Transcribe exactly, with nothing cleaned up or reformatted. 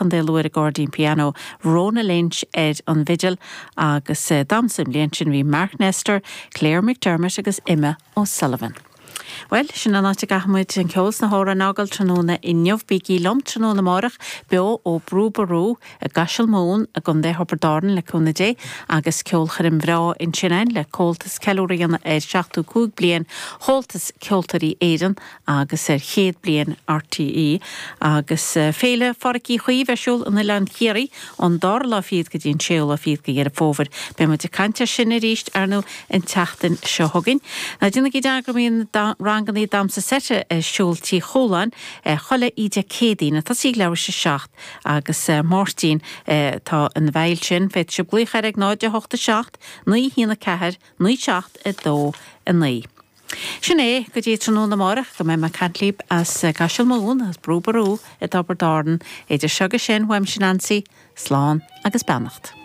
Chontae Lú ar an gcairdín pianó, Rona Lynch ar an bhfidil agus damhsa an bhliain sin bhí Mark Nestor, Claire McDermott agus Emma O'Sullivan. Well, sin an áit a gcaithfimid an ceol sna hamhráin a fhágáil tráthnóna inniu bígí liom tráthnóna amárach beo ó Brú Ború i gCaiseal Mumhan i gContae Thiobraid Árann le cúnamh Dé agus ceolchoirm bhreá ansin againn le Comhaltas ceiliúradh a dhéanamh ar seachtó cúig bliain Chomhaltas Ceoltóirí Éireann agus ar chéad bliain RTÉ agus Féile Phádraic Uí Chaoimh ar siúl in Oileán Chiarraí ón dara lá fichead go dtí an séú lá fichead de Dheireadh Fómhair. Beidh muid ag caint air sin arís ar ndóigh an tseachtain seo chugainn. Ná déanaigí dearmad go mbíonn ranganna damhsa seite ar siúl Tí Chualáin chuile oíche Céadaoin tosaí ag leathuair tar éis a seacht agus Máirtín tá ina bhfeighil sin féadfaidh sibh glaoch air ag náid a hocht a seacht naoi haon a ceathair naoi seacht a dó a naoi. Sin é go dtí tráthnóna amárach go mbeidh mé ag caint libh as Caiseal Mumhan as Brú Ború i dTiobraid Árann idir seo agus sin uaimse Nancy, slán agus beannacht.